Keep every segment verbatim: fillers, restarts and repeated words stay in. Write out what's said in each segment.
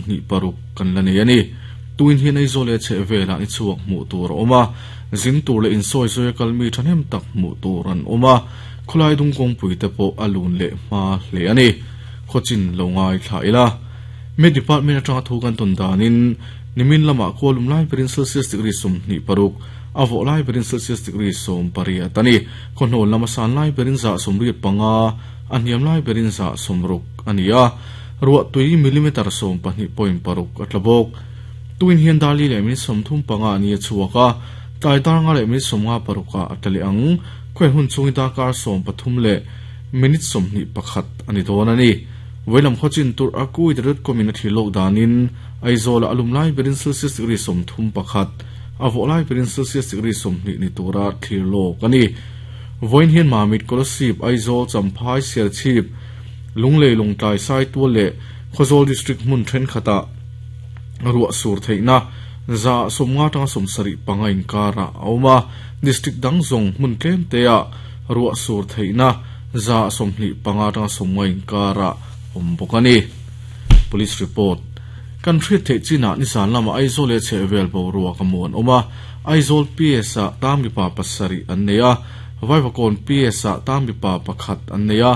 sawmhnih paruk kan la nei ani. Tuin hian Aizawl leh chhehvelah ni chhuak hmuh tur a awm a, zin tur leh insawi zawi a kalmi thahnem tak hmuh tur an awm a, khawlai dung kawngpui te pawh a lun leh hma hle ani. Khawchin lo ngai thla ila. Me department atanga thu kan tawn danin nimin lamah khualum lai berin Celsius degree sawmhnih paruk a vawh lai berin Celsius degree sawm pariat ani. Khawhnawn lama san lai berin za sawmriat panga a hniam lai berin za sawmruk ani a, ruah tui millimeter sawm pahnih point paruk a tla bawk. Tuin hian dali leh min sawmthum panga ani a chhuak a, tlai dar nga leh min sawmnga paruka a tla leh ang. Khawi hun chungi darkar sawm pathum leh minute sawmhnih pakhat ani dawn ani. Veilam khawchin tur a kui dot com in a thil lawk danin Aizawl a lum lai berin Celsius degree sawmthum pakhat a vawh lai berin Celsius degree sawmhnih ni tura thlir lawk ani. Vawiin hian Mamit, Kolasib, Aizawl, Champhai, Serchhip, Lunglei, Lawngtlai, Saitual leh Khawzawl district hmun thenkhatah ruah sur theihna za sawmnga tanga sawmsarih panga inkara a awm a, district dang zawng hmun tlem te ah ruah sur theihna za sawmhnih panga tanga sawmnga inkara awm bawk ani. Police report. Kan hriat theih chinah nisan lama Aizawl leh chhehvel boruak a mu an awm a, Aizawl P S ah tang mipa pasarih an nei a, Vaivakawn P S ah tang mipa pakhat an nei a,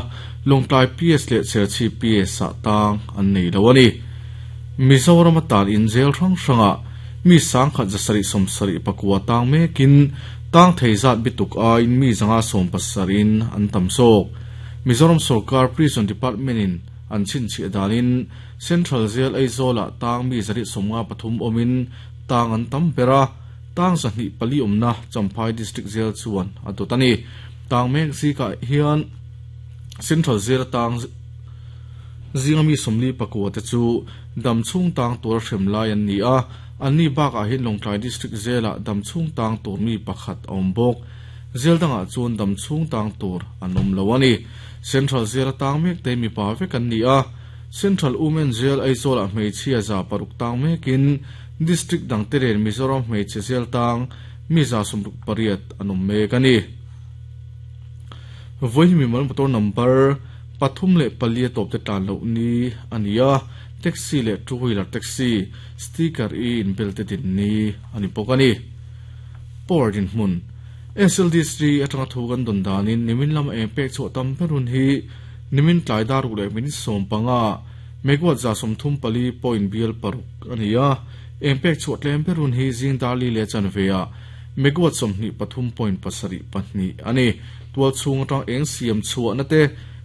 Lawngtlai P S leh Serchhip P S ah tang an nei lo ani. Mizoram atan in jail hrang hranga mi sangkhat zasarih sawmsarih pakua tang mekin tang thei zat bituk a in mi zanga sawm pasarin an tam zawk. Mizoram Sarkar Prison Department in an chhinchhiah danin Central Jail Aizawl ah tang mi zarih sawmnga pathum awmin tang an tam ber a, tang zahnih pali awmna Champhai District Jail chuan a dawt ani. Tang mek zikah hian Central Jail tang zinga mi sawmli pakua te chu dam chhung tang tur hrem lai an ni a, an ni bakah hian Lawngtlai District Jail ah dam chhung tang tur mi pakhat a awm bawk. Jail dangah chuan dam chhung tang tur an awm lo ani. Central Jail tang mek te mi pa vek an ni a, Central Women Jail Aizawl ah hmeichhia za paruk tang mekin District dang te ren Mizoram hmeichhe jail tang mi za sawmruk pariat an awm mek ani. Vawiin mi mal motor number pathum leh pali a tawp te tlan loh ni ani a, taxi leh two wheeler taxi sticker i inbel te din ni ani bawk ani. Power din hmun S L D C atanga thu kan dawn danin nimin lama eng pek chhuah tam berun hi nimin tlai daruk leh minute sawm panga megawatt za sawmthum pali point bial paruk ani a, eng pek chhuah tlem berun hi zing darli leh chanve ah megawatt sawmhnih pathum point pasarih pahnih ani. Tual chhung atang eng siam chhuah na te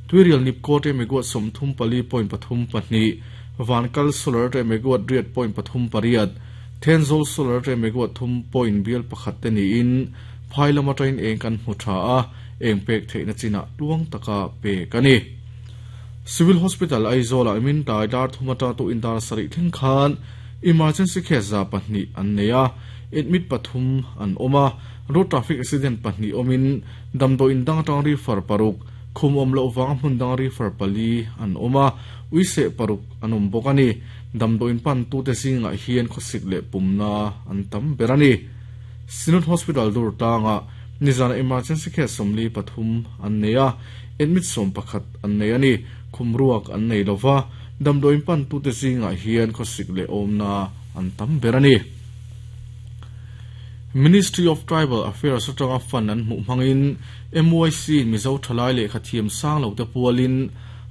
tuirial nipko te megawatt sawmthum pali point pathum pahnih, Vankal solar te megawatt riat point pathum pariat, Thenzawl solar te megawatt thum point bial pakhat te niin phai lama train eng kan hmu tha a, eng pek theihna chinah tuang taka pek ani. Civil Hospital Aizawl ah min tlai dar thum atang tu in dar sarih thleng khan emergency case za pahnih an nei a, admit pathum an awm a, road traffic accident pahnih awmin damdawi in dang atang refer paruk, khum awm loh wang hmun dang refer pali an awm a, uiseh paruk an awm bawk ani. Damdawi in pan tu te zingah hian khawsik leh pumna an tam ber ani. Synod Hospital dur tanga nizana emergency case sawmli pathum an nei a, admit sawm pakhat an nei ani. Khumruak an nei lova, damdawi in pan tu te zingah hian khawsik leh awmna an tam ber ani. Ministry of Tribal Affairs atanga fund an hmuh hmangin M Y C Mizo thalai leh khathiam sang lo te pualin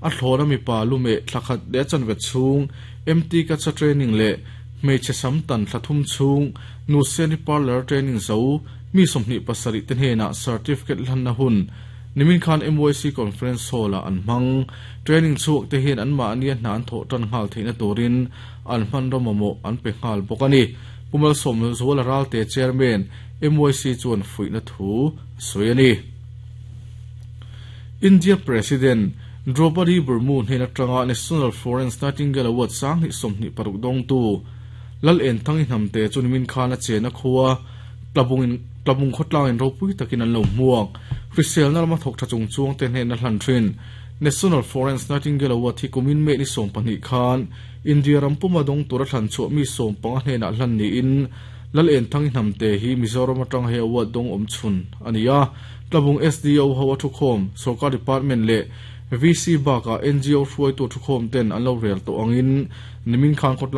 a thlawna mipa lume thlakhat leh chanve chhung M T kacha training leh hmeichhe sam tan thlathum chhung nu seni parlor training zo mi sawmhnih pasarih te hnenah certificate hlanna hun nimin khan M Y C conference hall ah an hmang. Training chhuak te hian an mahni a hna an thawh tan nghal theihna turin an hman rawmawmawh an pe nghal bawk ani. Pumal Sawm Zual Ral te chairman M Y C chuan fuihna thu sawi ani. India President Draupadi Murmu hnena tanga National Florence Nightingale Award sang hnih sawmhnih paruk dawng tu Lal En Thangi hnamte chu nimin khan a chena khuwa tlabung in tlabung khawtlang in ropui takin an lo hmuak. Hrisel na lama thawk tha chung chuang te hnena hlan thin National Florence Nightingale Award hi kumin me ni sawm pahnih khan India rampuma dawng tura thlan chhuah mi sawm panga hnena hlan niin Lal En Thangi hnamte hi Mizoram atang he award dawng awm chhun ani a. Tlabung S D O ho a thukhawm Sarkar Department leh V C baka N G O hruai tu thukhawm ten an lo rel tawh angin nimin khan khawtlang